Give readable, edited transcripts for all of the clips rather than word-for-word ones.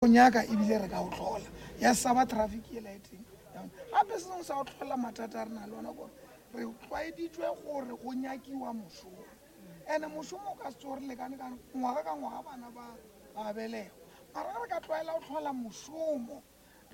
O nyaka ebile re ka o hlola. Ya sa ba traffic yela e teng. Gape se sengwe sa go hlola mathata a re na le ona kore re tlwaeditšwe gore go nyakiwa mošomo. Ene mošomo o ka se tsoge re lekane ka ngwaga ka ngwaga bana ba ba belegwa. Mara ge re ka tlwaela go hlola mošomo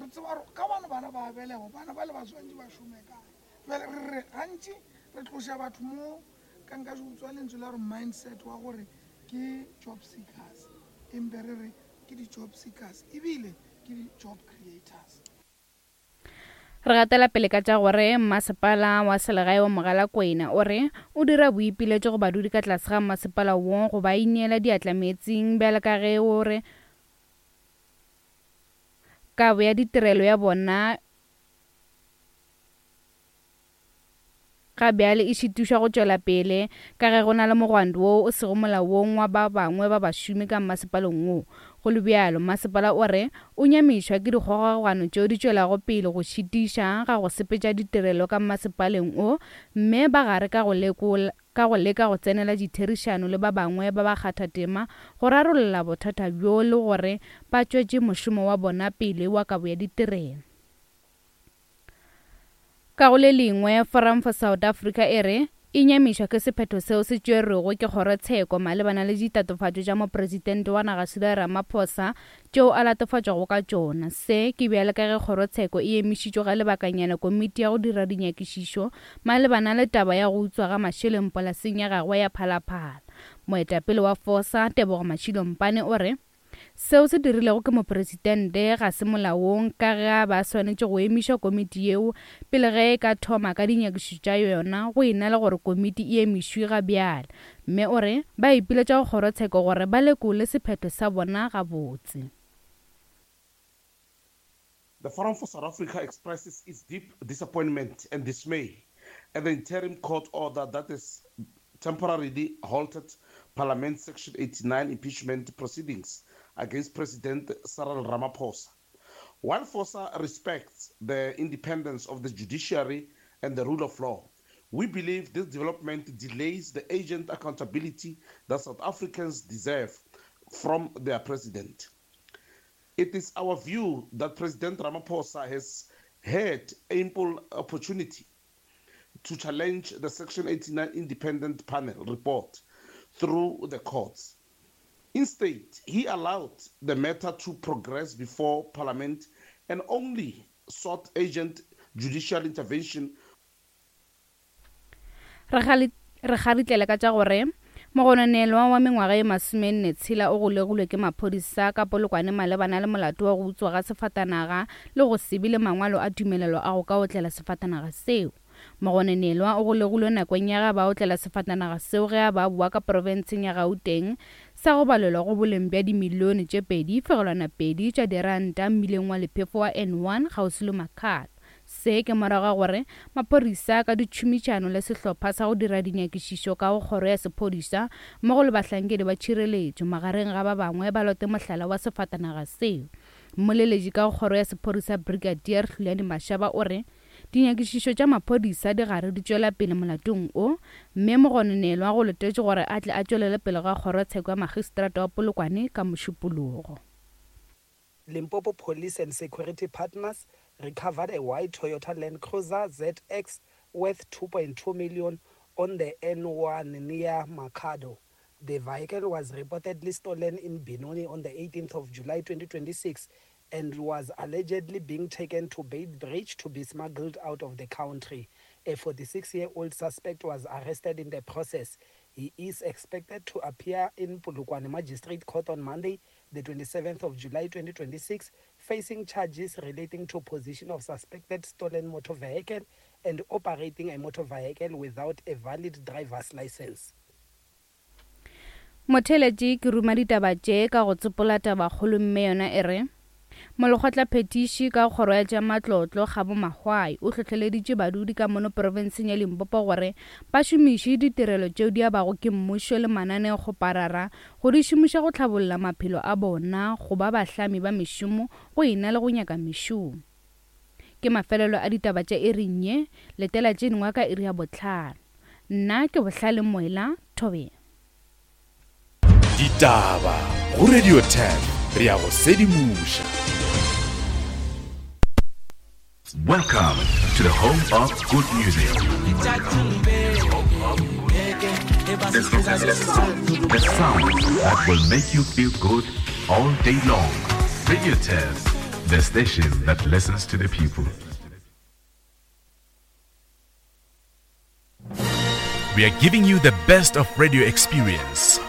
re tseba gore ka bane bana ba belegwa bana ba le ba swantše ba šome kae. Jale re re gantši re tloša batho mo ka nka utswa lentswe la gore mindset wa gore ke job seekers empe re re ke di-job seekers ebile ke di-job creators. Re gatela pele ka tša gore Mmasepala wa Selegae wa Mogalakwena o re o dira boipiletšo go badudi ka tlase ga mmasepala wo go ba ineela diatla meetseng bjalo ka ge o re kabo ya ditirelo ya bona Ga bjale e šitišwa go tšwela pele ka ge go na le mogwanto wo o sego molaong wa ba bangwe ba bašomi ka mmasepaleng wo. Go le bjalo, mmasepala o re o nyamišwa ke dikgogakgogano tšeo di tšwelago pele go šitiša ga go sepetša ditirelo ka mmasepaleng wo mme ba gare ka go lekola ka go leka go tsenela ditherišano le ba bangwe ba bakgathatema go rarolla bothata bjo le gore ba tšwetše mošomo wa bona pele wa kabo ya ditirelo. Ka go le lengwe, Forum for South Africa e re e nyamišwa ke sephetho seo se tšerwego ke kgorotsheko malebana le ditatofatšo tša mopresidente wa naga Cyril Ramaphosa tšeo a latofatšwago ka tšona. Se ke bjale ka ge kgorotsheko e emišitšwe ga lebakanyana komiti ya go dira dinyakišišo malebana le taba ya go utswa ga mašeleng polaseng ya gagwe ya Phalaphala. Moetapele wa FOSA, Tebogo Mashilo Mpane o re Seo se dirilego ke mopresidente ga se molaong ka ge a be a swanetše go emiša komiti yeo pele ge e ka thoma ka dinyakišišo tša yona go e na le gore komiti e emišwe ga bjale mme o re ba ipiletša go kgorotsheko gore ba lekole sephetho sa bona gabotse. The Forum for South Africa expresses its deep disappointment and dismay at the interim court order that has temporarily halted Parliament's Section 89 impeachment proceedings against President Cyril Ramaphosa. While FOSA respects the independence of the judiciary and the rule of law, we believe this development delays the urgent accountability that South Africans deserve from their president. It is our view that President Ramaphosa has had ample opportunity to challenge the Section 89 Independent Panel report through the courts. Instead, he allowed the matter to progress before Parliament and only sought urgent judicial intervention Re kgaritlele ka tša gore mogononelwa wa mengwaga ye masomenne tshela o golegilwe ke maphodisa ka Polokwane malebana le molato wa go utswa ga sefatanaga le go se be le mangwalo a tumelelo a go ka otlela sefatanaga seo. Mogononelwa o golegilwe nakong ya ge a ba otlela sefatanaga seo ge a ba boa ka profenseng ya Gauteng sa go balelwa go boleng bja dimilione tše 2.2 tša diranta mmileng wa lephefo wa N1 kgauswi le Makhado. Se ke morago ga gore maphodisa ka ditšhomišano le sehlopha sa go dira dinyakišišo ka go kgoro ya sephodisa mmogo le bahlankedi ba tšhireletšo magareng ga ba bangwe ba lote mohlala wa sefatanaga seo. Mmoleletši ka go kgoro ya sephodisa Brigadier Hlulani Mashaba o re dinyakišišo tša maphodisa di gare di tšwela pele molatong o mme mogononelwa go letetšwe gore a tle a tšwelele pele ga kgorotsheko ya magistrata wa Polokwane ka Mošupologo. Limpopo Police and security partners recovered a white Toyota Land Cruiser ZX worth 2.2 million on the N1 near Makhado. The vehicle was reportedly stolen in Benoni on the 18th of July 2026 and was allegedly being taken to Beitbridge to be smuggled out of the country. A 46-year-old suspect was arrested in the process. He is expected to appear in Polokwane Magistrate Court on Monday, the 27th of July 2026, facing charges relating to possession of suspected stolen motor vehicle and operating a motor vehicle without a valid driver's license. Motheeletši ke ruma ditaba tše ka go tsopola tabakgolo mme yona e re, Molekgotlaphethiši ka kgoro ya tša matlotlo Kgabo Mahwai o hlohleleditše badudi ka mono profenseng ya Limpopo gore ba šomiše ditirelo tšeo di abago ke mmušo le mananeokgoparara go di šomiša go hlabolla maphelo a bona go ba bahlami ba mešomo go e na le go nyaka mešomo. Ke mafelelo a ditaba tša iring ye, letela tše dingwe ka iri ya bohlano. Nna ke Bohlale Moela, Thobela. Ditaba go Radio 10. Re a go sedimoša. Welcome to the home of good music. The sound that will make you feel good all day long. Radio Test, the station that listens to the people. We are giving you the best of radio experience.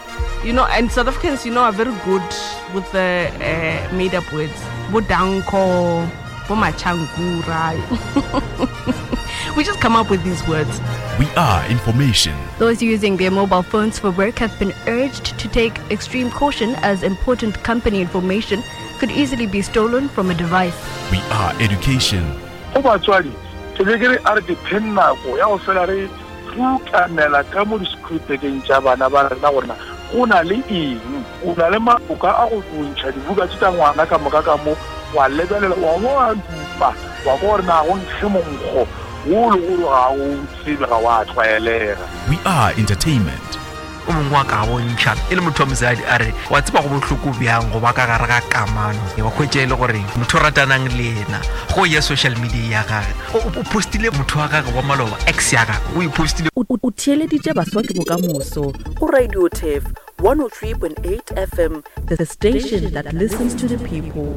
You know, and South Africans, you know, are very good with the uh, made up words. Bodanko, Bomachangura. we just come up with these words. We are information. Those using their mobile phones for work have been urged to take extreme caution as important company information could easily be stolen from a device. We are education. Go batswadi, ke be ke re a re ke pheng nako ya go fela re tlukanela ka mo di-schoolbageng tša bana ba rena gore na go na le eng. O na le maboka a go ntšha dibuka tše tša ngwana ka moka ka mo, wa lebelela, wa bo wa dupa, wa kwa gore na go nkge monkgo wo le gore ga o tsebe, ga wa tlwaelega. We are entertainment. O mongwe wa ka bontšha e le motho wa mosadi a re wa tseba go bohloko bjang go ba ka gare ga kamano wa kgwetša e le gore motho o ratanang le yena go ya social media ya gage o postile motho wa gage wa maloba ex ya gage o e postile. O theeleditše Baswa ke Bokamoso go Radio Turf 103.8 FM, the station that listens to the people.